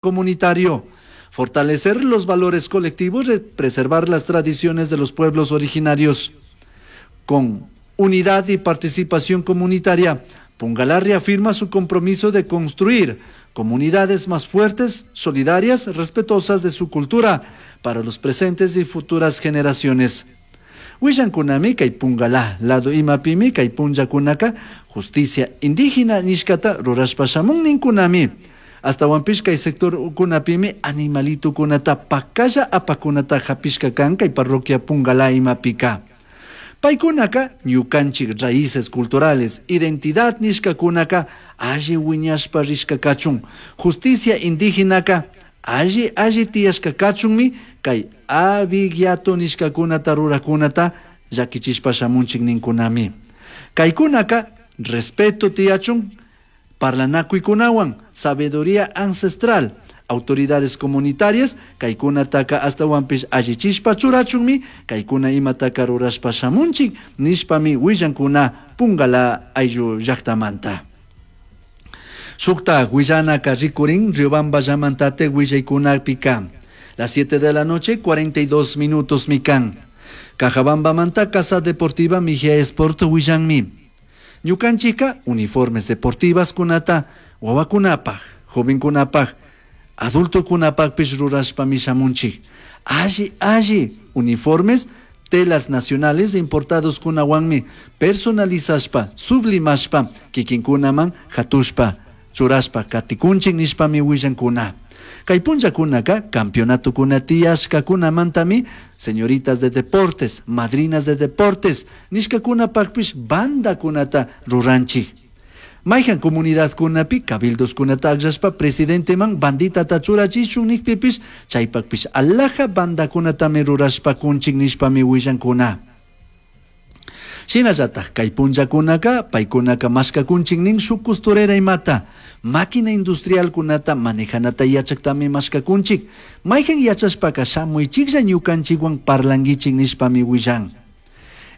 Comunitario. Fortalecer los valores colectivos y preservar las tradiciones de los pueblos originarios. Con unidad y participación comunitaria, Pungalá reafirma su compromiso de construir comunidades más fuertes, solidarias, respetuosas de su cultura para los presentes y futuras generaciones. Willancunami kay Pungalá lado imapimi kay punllakunaka justicia indígena nishkata rurashpa shamun ninkunami. Ashtahuanpish kay sector kunapimi animalitokunata pakalla apakunata hapishka kan kay parroquia Pungalá imapika. Paykunaka ñukanchik raíces culturales, identidad nishkakunaka alli wiñashpa rishka kachun, justicia indígenaka alli alli tiyashka kachunmi kay abigato nishkakunata rurakunata llakichishpa shamunchik ninkunami. Kaykunaka respeto tiyachun, parlanakuykunawan, sabiduría ancestral, autoridades comunitarias, kaykunataka ashtahuanpish allichishpa churachunmi, kaykuna imataka rurashpa shamunchik nishpami willankuna Pungalá ayllu llaktamanta. Shukta willanaka rikurin Riobamba llamantate willaykunapika. Las 7 de la noche, 42 minutos mikan. Cajabambamanta Casa Deportiva Mejía Sport willanmi. Ñukanchika uniformes deportivas kunata wawakunapaj, jovenkunapaj, adultokunapajpish rurashpami shamunchik. Alli, alli uniformes, telas nacionales importados kunawanmi personalizashpa, sublimashpa, kikinkunaman hatushpa, churashpa, katikunchik nishpami willankuna. Kay punllakunaka campeonatokuna tiyashkakunamantami señoritas de deportes, madrinas de deportes, nishkakunapakpish bandakunata ruranchik. Mayhan comunidadkunapi cabildoskunata akllashpa presidenteman banditata churachishun nikpipish chaypakpish alhaja bandakunatami rurashpa kunchik nishpami willankuna. Shinallatak kay punllakunaka paykunaka mashkakunchik nin shuk costurera imata, máquina industrialkunata manejanata yachaktami mashkakunchik, mayhan yachashpaka shamuychiklla ñukanchikwan parlankichik nishpami willan.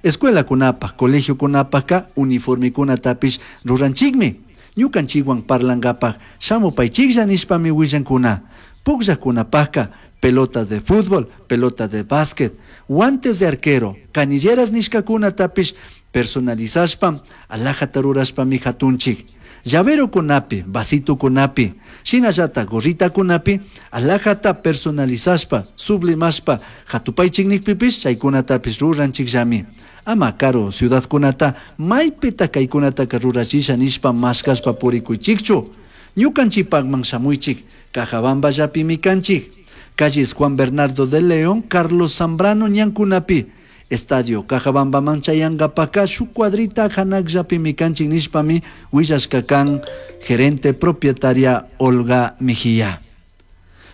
Escuelakunapaj, colegiokunapajka uniformekunatapish ruranchikmi, ñukanchikwan parlankapaj shamupaychiklla nishpami willankuna. Pukllakunapajka pelota de fútbol, pelota de básquet, guantes de arquero, canilleras nishkakunatapish personalizashpa, alhajata rurashpami hatunchik. Llaverokunapi, vasitokunapi, shinallata gorritakunapi, alhajata personalizashpa, sublimashpa, hatupaychik nikpipish chaykunatapish ruranchikllami. Ama karu ciudadkunata maypita kaykunataka rurachisha nishpa mashkashpa purikuychikchu. Ñukanchikpakman shamuychik, Cajabamballapimi kanchik. Calles Juan Bernardo de León, Carlos Zambrano ñankunapi. Estadio Cajabambaman chayankapaka shuk cuadrita hanakllapimi kanchik nishpami willashka kan gerente propietaria Olga Mejía.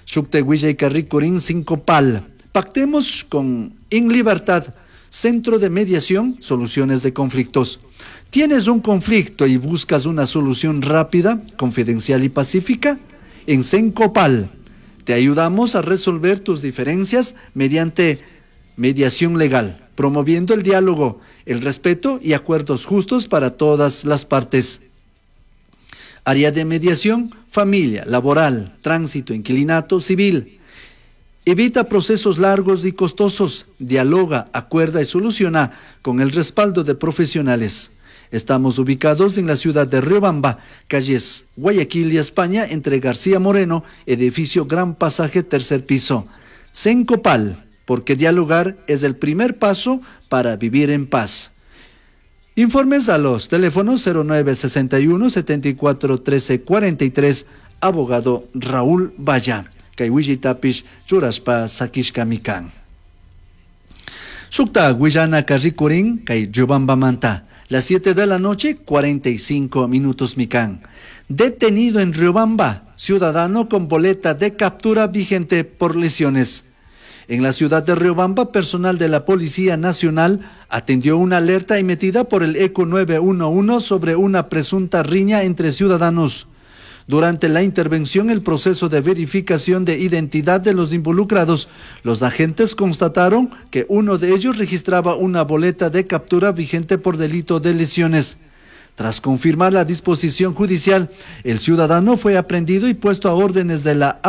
Shukte willayka rikurin Sincopal. Pactemos con In Libertad, Centro de Mediación, Soluciones de Conflictos. ¿Tienes un conflicto y buscas una solución rápida, confidencial y pacífica? En Sencopal te ayudamos a resolver tus diferencias mediante mediación legal, promoviendo el diálogo, el respeto y acuerdos justos para todas las partes. Área de mediación, familia, laboral, tránsito, inquilinato, civil. Evita procesos largos y costosos, dialoga, acuerda y soluciona con el respaldo de profesionales. Estamos ubicados en la ciudad de Riobamba, calles Guayaquil y España, entre García Moreno, edificio Gran Pasaje, tercer piso. Sencopal, porque dialogar es el primer paso para vivir en paz. Informes a los teléfonos 0961 74 13 43, abogado Raúl Valla. Kay willaytapish churashpa sakishkami kan. Shukta willanaka rikurin kay Riobambamanta. Las 7 de la noche, 45 minutos mikan. Detenido en Riobamba, ciudadano con boleta de captura vigente por lesiones. En la ciudad de Riobamba, personal de la Policía Nacional atendió una alerta emitida por el ECO 911 sobre una presunta riña entre ciudadanos. Durante la intervención, el proceso de verificación de identidad de los involucrados, los agentes constataron que uno de ellos registraba una boleta de captura vigente por delito de lesiones. Tras confirmar la disposición judicial, el ciudadano fue aprehendido y puesto a órdenes de la autoridad.